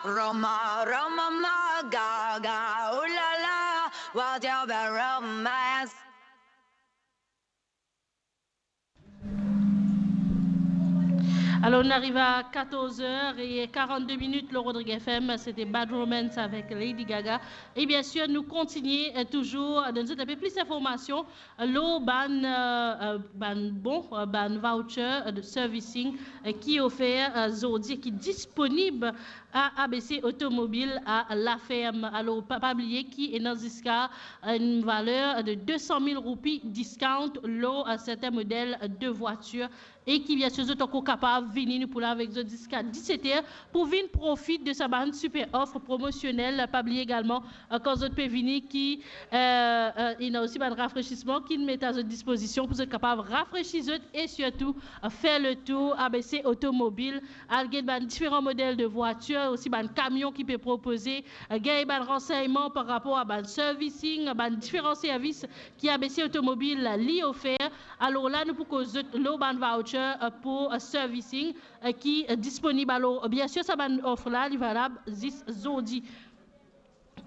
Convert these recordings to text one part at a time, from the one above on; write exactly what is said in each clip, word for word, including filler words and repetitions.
Roma, Roma, ma, ga, ga, oh la la, what a romance. Alors, on arrive à quatorze heures et quarante-deux minutes, le Rodrigue F M, c'était Bad Romance avec Lady Gaga. Et bien sûr, nous continuons euh, toujours à donner un peu plus d'informations lor bann, euh, euh, bann bon, euh, bann voucher, euh, de servicing, euh, ki ofer, euh, zordi, ki disponib a A B C Automobile à La Ferme. Alors, pa, pa bliye ki ena ziska enn valer de deux cent mille roupi discount lor, euh, serten model de voiture. E ki, bien sûr, zot ankor kapav vini, nou pou la avek zot ziska diset er pou vinn profit de sa bann super offer promosionel. Pa bliye egalman, euh, kan zot pe vini ki, euh, euh, ena osi bann rafresisman ki met a zot dispozision pou zot kapav rafresi zot e sirtou, euh, fer le tour A B C Automobile, al get bann diferan model de voitir, osi bann kamion ki pe propoze, euh, gagn bann ransegnman par rapor a bann servicing, bann diferan servis ki A B C Automobile li ofer. Alor la, nou pou koz zot lor bann voucher, euh, pou, euh, servicing, euh, ki, euh, disponib. Alor, bien sûr, sa bann offer la, li valab zis zordi.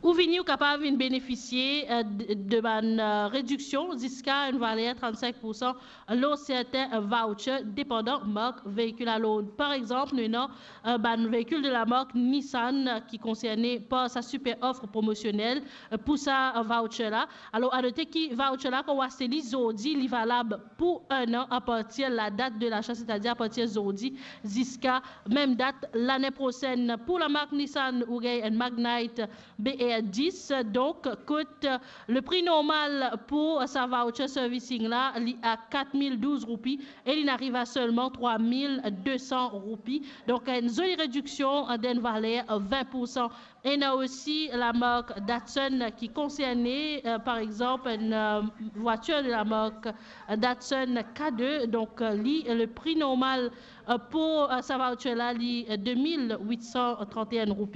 Ou vini, ou kapav vinn benefisie, euh, de, de bann, euh, rediksion ziska enn valer trant-sink pour san lor serten, euh, voucher, depandan mark veikil. Alor, par exanp, nou ena, euh, bann veikil de la mark Nissan, euh, ki konserne par sa super offer promosionel, euh, pou sa, euh, voucher la. Alor, a note ki voucher la, kan ou aste li zordi, li valab pou enn an apartir la dat de lasa, setadir apartir zordi ziska mem dat lane prosenn. Pou la mark Nissan, ou gagn enn Magnite B R dis, donk, kot, euh, le pri normal pou sa voucher servicing la, li a kat mil douz roupi e li ariv a selman trwa mil de san roupi. Donk, enn zoli rediksion, euh, d'enn valer, euh, vin pour san. Ena osi la mark Datsun ki konserne, euh, par exanp, enn, euh, voutir de la mark Datsun K deux. Donk, euh, li, le pri normal, euh, pou, euh, sa voucher la, li, euh, de mil wit san trant-e-enn roupi.